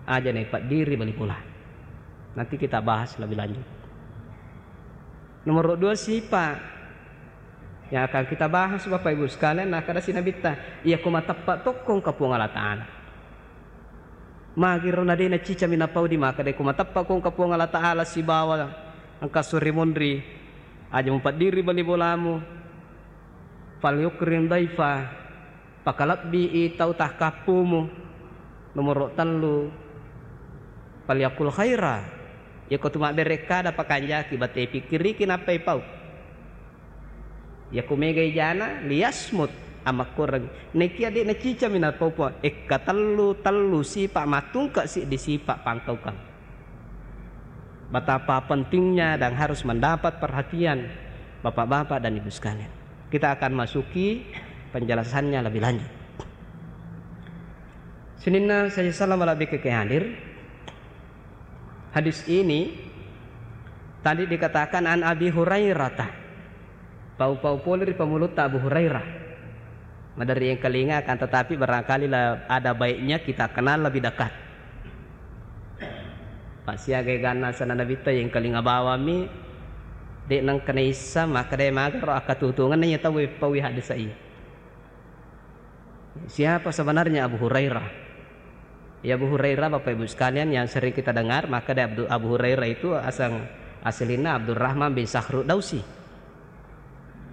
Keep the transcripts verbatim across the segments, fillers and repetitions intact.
aja naipaddiri bali bola. Nanti kita bahas lebih lanjut. Nomor dua, sifat yang akan kita bahas, Bapak Ibu sekalian, nakkeda si Nabitta, iya ko mateppa tokko engka Puang Allah Ta'ala. Magiro na de' nacica minapau di makkeda ko mateppa ko engka Puang Allah Ta'ala sibawa engka suri monri, aja mupaddiri bali bolamu, falyukrim dhaifa, pakalebbii tau takkappumu. Nomoro tellu, falyakul khaira, iya ko tu mabbere kada pakanjaki, bate pikkiriki nappa ipau. Iya ko mega ijana, liyasmut, amakkureng. Nekia de' nacica minapau Puang, ekka tellu, tellu sipa mattungka siddi sipa pangkaukang. Betapa pentingnya dan harus mendapat perhatian Bapak-bapak dan Ibu sekalian. Kita akan masuki penjelasannya lebih lanjut. Sininna saya salam lebih ke hadir. Hadis ini tadi dikatakan an Abi Hurairah. Pau-pau pole ri pamulutta Abu Hurairah. Maderri engkalinga, akan tetapi barangkali la-, ada baiknya kita kenal lebih dekat. Pasiaga eganna asenna Nabitta, yengkalinga bawammi, de' nengka naissa makkeda magaro akkatutungenna iya tau eppaui hadis iya. Siapa sebenarnya Abu Hurairah? Ya, Abu Hurairah, Bapak Ibu sekalian, yang sering kita dengar, makkeda Abdu-, Abu Hurairah itu asang, aslinna Abdurrahman bin Sakhru Dausi.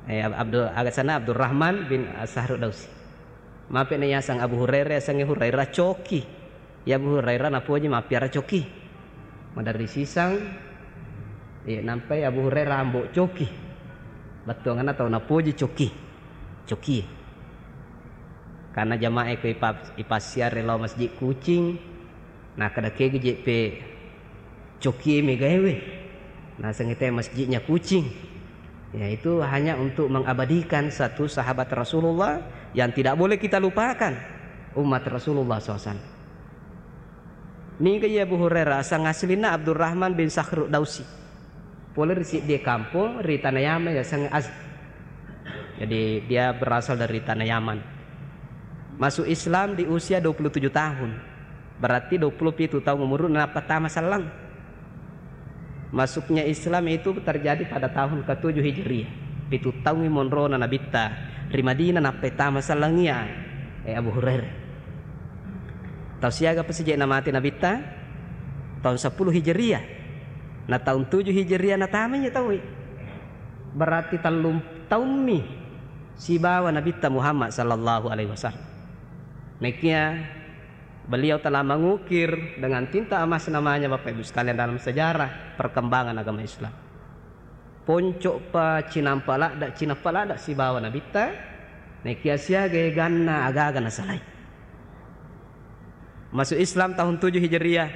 Eh, Ab-, Abdul, agasana Abdurrahman bin Sakhru Dausi. Mape na yasang Abu Hurairah, yasangnge Hurairah coki. Ya, Abu Hurairah napoji mappiara coki. Maderri sisang, eh, nampai Abu Hurairah ambo coki. Bettuanganna tau napoji coki. Coki. Karena jamaah ko ipa-, ipassiare lao masjid Kucing, nakkeda kegi jeppe coki megaewe. Nasengnge te masjidnya Kucing. Ya, itu hanya untuk mengabadikan satu sahabat Rasulullah yang tidak boleh kita lupakan, umat Rasulullah sallallahu alaihi wasallam. Niga iya Abu Hurairah, asang aslinna Abdurrahman bin Sakhru Dausi. Pole ri siddi kampong ri tanah Yaman, yasengnge Azd. Jadi, dia berasal dari tanah Yaman. Masuk Islam di usia dua puluh tujuh tahun. Berarti dua puluh pitu tahun umurna nappa tama selleng. Masuknya Islam itu terjadi pada tahun ketujuh Hijriah. Pitu taungngi monrona Nabitta ri Madinah nappa tama sellengngi iya, eh, Abu Hurairah. Tau siaga pa sije'na mate Nabitta? Taung seppulo Hijriah. Na taung tuju Hijriah natamai tauwe. Berarti tellung taummi sibawa Nabitta Muhammad sallallahu alaihi wasallam. Nekia beliau telah mengukir dengan tinta emas namanya, Bapak Ibu sekalian, dalam sejarah perkembangan agama Islam. Ponco'pa cinampa ladda, cinappa ladda sibawa Nabitta, nekia siaga eganna agaga nasalai. Masuk Islam tahun tujuh Hijriah.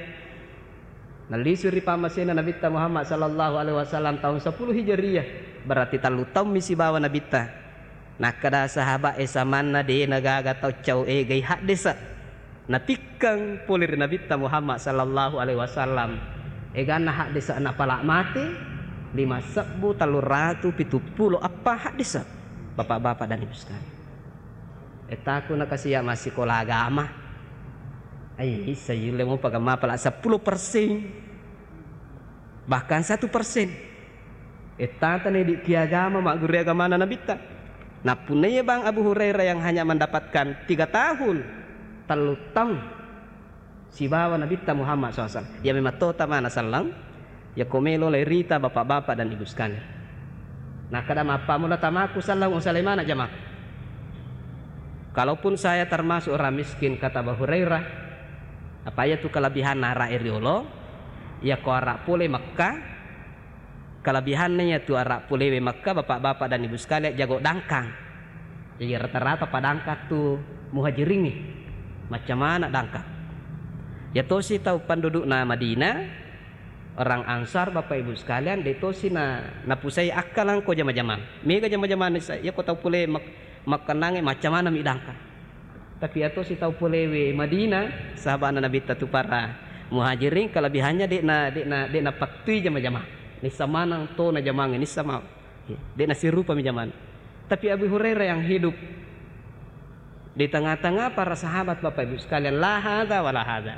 Nallisu ri pammasena Nabitta Muhammad sallallahu alaihi wasallam tahun seppulo Hijriah. Berarti tellu taummi sibawa Nabitta. Nakkeda sahabat e, samanna de' nagaga tau cau egai haddesa. Natikkeng pole ri Nabitta Muhammad sallallahu alaihi wasallam. Eganna haddesa napala mate, lima sebbu tellung ratu pitu pulo eppa haddesa. Bapak-bapak dan Ibu sekalian. Etaku nakasia massikola agama. Ai, issa yulle mopa gamma pala seppulo persen. Bahkan satu persen. Ettata na idi' ki agama, magguru agamana Nabitta. Nappunnaiya bang Abu Hurairah yang hanya mendapatkan tiga tahun, tellu taung sibawa Nabitta Muhammad sallallahu alaihi wasallam. Ya memang tota mana sallang, ya ko melo lai rita bapak-bapak dan ibu sekalian. Nakkeda mappammula tamaku sallang usalai mana jamaah. Kalaupun saya termasuk orang miskin, kata Abu Hurairah, apa iya tu kelebihan ara e riolo, ya ko ara pole Mekah, kelebihanna iyatu ara polewe Mekka, bapak-bapak dan ibu sekalian, jago dangkang. Jadi rata-rata padangkang tu muhajiringnge, macca maneng dangkang. Ya tosi tau pendudukna Madinah, orang Ansar, bapak ibu sekalian, de tosi na, napusai akkalang ko jama-jamang. Mega jama-jamang nisa, ya ko tau pole Mek-, Mekkannangnge macca maneng mi dangkang. Tapi iya tosi tau polewe Madinah, sahaba'na Nabitta tu para muhajirin, kelebihannya de'na, de'na, de'na pattui jama-jamang. Nissa maneng tona jamangnge, nissa ma-, de'na sirupami jamanna. Tapi Abu Hurairah yang hidup di tengah-tengah para sahabat, Bapak Ibu sekalian, la hadza wa la hadza.